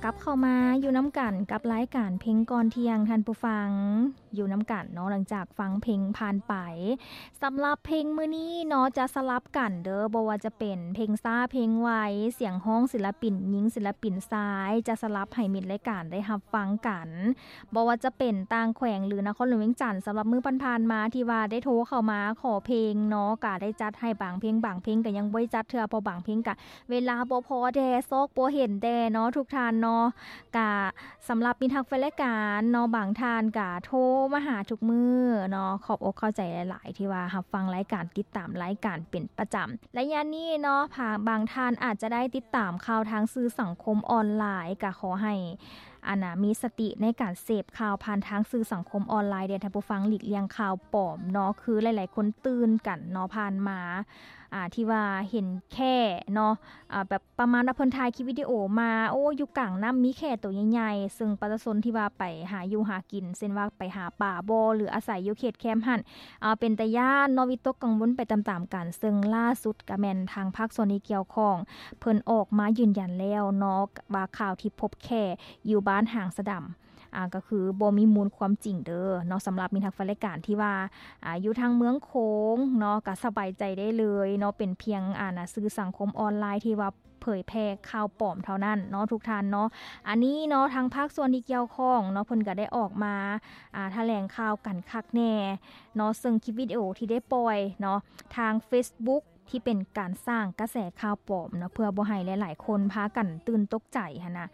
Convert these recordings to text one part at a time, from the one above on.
ກັບເຂົ້າມາຢູ່ນຳກັນກັບລາຍການເພງກ່ອນທ່ຽງ ທ່ານຜູ້ຟັງ ຢູ່ນຳກັນເນາະ ຫຼັງຈາກຟັງເພງຜ່ານໄປ. ສຳລັບເພງມື້ນີ້ເນາະ ຈະສະຫຼັບກັນເດີ້ ບໍ່ວ່າຈະເປັນເພງຊ້າເພງໄວ, ສຽງຮ້ອງສິນລະປິນຍິງ ສິນລະປິນຊາຍ ຈະສະຫຼັບໃຫ້ມິດລາຍການໄດ້ຮັບຟັງກັນ. ບໍ່ວ່າຈະເປັນຕ່າງແຂວງ ຫຼື ນະຄອນຫຼວງວຽງຈັນ ສຳລັບມື້ຜ່ານໆມາທີ່ວ່າໄດ້ໂທເຂົ້າມາຂໍເພງເນາະ ກະໄດ້ຈັດໃຫ້ບາງເພງ, ບາງເພງກະຍັງບໍ່ໄດ້ຈັດເທື່ອ ເພາະບາງເພງກະເວລາບໍ່ພໍແດ່, ຊອກບໍ່ເຫັນແດ່ເນາະ ທຸກທ່ານເນາະ. ກະສຳລັບມິດຮັກແຟນລາຍການເນາະ ບາງທ່ານກະໂທມາຫາທຸກມື້ເນາະ, ຂອບອົກຂອບໃຈຫຼາຍໆ ທີ່ວ່າຮັບຟັງລາຍການ, ຕິດຕາມລາຍການເປັນປະຈຳ. ໄລຍະນີ້ເນາະ ບາງທ່ານອາດຈະໄດ້ຕິດຕາມຂ່າວທາງສື່ສັງຄົມອອນລາຍ, ກະຂໍໃຫ້ ອັນນ່າ ມີສະຕິໃນການເສບຂ່າວຜ່ານທາງສື່ສັງຄົມອອນລາຍເດີ້ ທ່ານຜູ້ຟັງ, ຫຼີກລ່ຽງຂ່າວປອມເນາະ. ຄືຫຼາຍໆຄົນຕື່ນກັນເນາະ ຜ່ານມາ ອ່າ ທີ່ວ່າເຫັນແຂ້ເນາະ ອ່າ ແບບປະມານວ່າເພິ່ນຖ່າຍຄລິບວິດີໂອມາ, ໂອ້ ຢູ່ກາງນ້ຳມີແຂ້ໂຕໃຫຍ່ໆ, ເຊິ່ງປະຊາຊົນທີ່ວ່າໄປຫາຢູ່ຫາກິນ ເຊັ່ນວ່າໄປຫາປາບໍ ຫຼື ອາໄສຢູ່ເຂດແຄມຫັ້ນ ອ່າ ເປັນຕາຢ້ານເນາະ, ວິຕົກກັງວົນໄປຕາມໆກັນ. ເຊິ່ງລ່າສຸດກະແມ່ນທາງພາກສ່ວນທີ່ກ່ຽວຂ້ອງ ເພິ່ນອອກມາຢືນຢັນແລ້ວເນາະ ວ່າຂ່າວທີ່ພົບແຂ້ຢູ່ບ້ານຫາງສະດຳ ອ່າ ກໍຄືບໍ່ມີມູນຄວາມຈິງເດີ້ເນາະ. ສຳລັບມິດຮັກແຟນລາຍການທີ່ວ່າ ອ່າ ຢູ່ທາງເມືອງໂຂງເນາະ ກໍສະບາຍໃຈໄດ້ເລີຍເນາະ, ເປັນພຽງ ອ່າ ນະ ສື່ສັງຄົມອອນລາຍທີ່ວ່າເຜີຍແຜ່ຂ່າວປອມເທົ່ານັ້ນເນາະ ທຸກທ່ານເນາະ. ອັນນີ້ເນາະ ທາງພາກສ່ວນທີ່ກ່ຽວຂ້ອງເນາະ ເພິ່ນກໍໄດ້ອອກມາ ອ່າ ຖະແຫຼງຂ່າວກັນຄັກແນ່ເນາະ, ເຊິ່ງຄລິບວິດີໂອທີ່ໄດ້ປ່ອຍເນາະ ທາງເຟສບຸກ ທີ່ເປັນການສ້າງກະແສຂ່າວປອມເນາະ ເພື່ອບໍ່ໃຫ້ຫຼາຍໆຄົນພາກັນຕື່ນຕົກໃຈຫັ້ນນະ.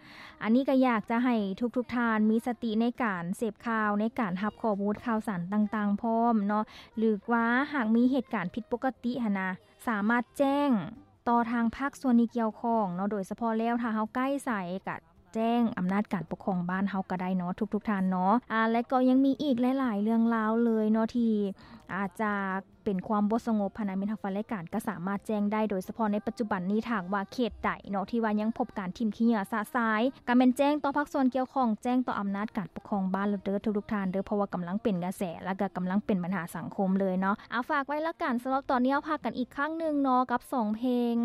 ອັນນີ້ກໍຢາກຈະໃຫ້ທຸກໆທ່ານມີສະຕິໃນການເສບຂ່າວ, ໃນການຮັບຂໍ້ມູນຂ່າວສານຕ່າງໆພ້ອມເນາະ, ຫຼືວ່າຫາກມີເຫດການຜິດປົກກະຕິຫັ້ນນະ ສາມາດແຈ້ງຕໍ່ທາງພາກສ່ວນທີ່ກ່ຽວຂ້ອງເນາະ, ໂດຍສະເພາະແລ້ວຖ້າເຮົາໃກ້ໃສກະ ແຈ້ງອຳນາດການປົກຄອງບ້ານເຮົາກໍໄດ້ເນາະ ທຸກໆທ່ານເນາະ. ອ່າ ແລະກໍຍັງມີອີກຫຼາຍໆເລື່ອງລາວເລີຍເນາະ ທີ່ອາດຈະເປັນຄວາມບໍ່ສະຫງົບຫັ້ນນະ, ມິດຮັກແຟນລາຍການກໍສາມາດແຈ້ງໄດ້, ໂດຍສະເພາະໃນປັດຈຸບັນນີ້ ຖ້າຫາກວ່າເຂດໃດເນາະ ທີ່ວ່າຍັງພົບການຖິ້ມຂີ້ເຫຍື້ອຊະຊາຍ ກໍແມ່ນແຈ້ງຕໍ່ພາກສ່ວນກ່ຽວຂ້ອງ, ແຈ້ງຕໍ່ອຳນາດການປົກຄອງບ້ານແລ້ວເດີ້ ທຸກໆທ່ານເດີ້, ເພາະວ່າກຳລັງເປັນກະແສ ແລະກໍກຳລັງເປັນບັນຫາສັງຄົມເລີຍເນາະ. ເອົາ ຝາກໄວ້ລະກັນ, ສຳລັບຕອນນີ້ເຮົາພັກກັນອີກຄັ້ງໜຶ່ງເນາະ ກັບສອງເພງ.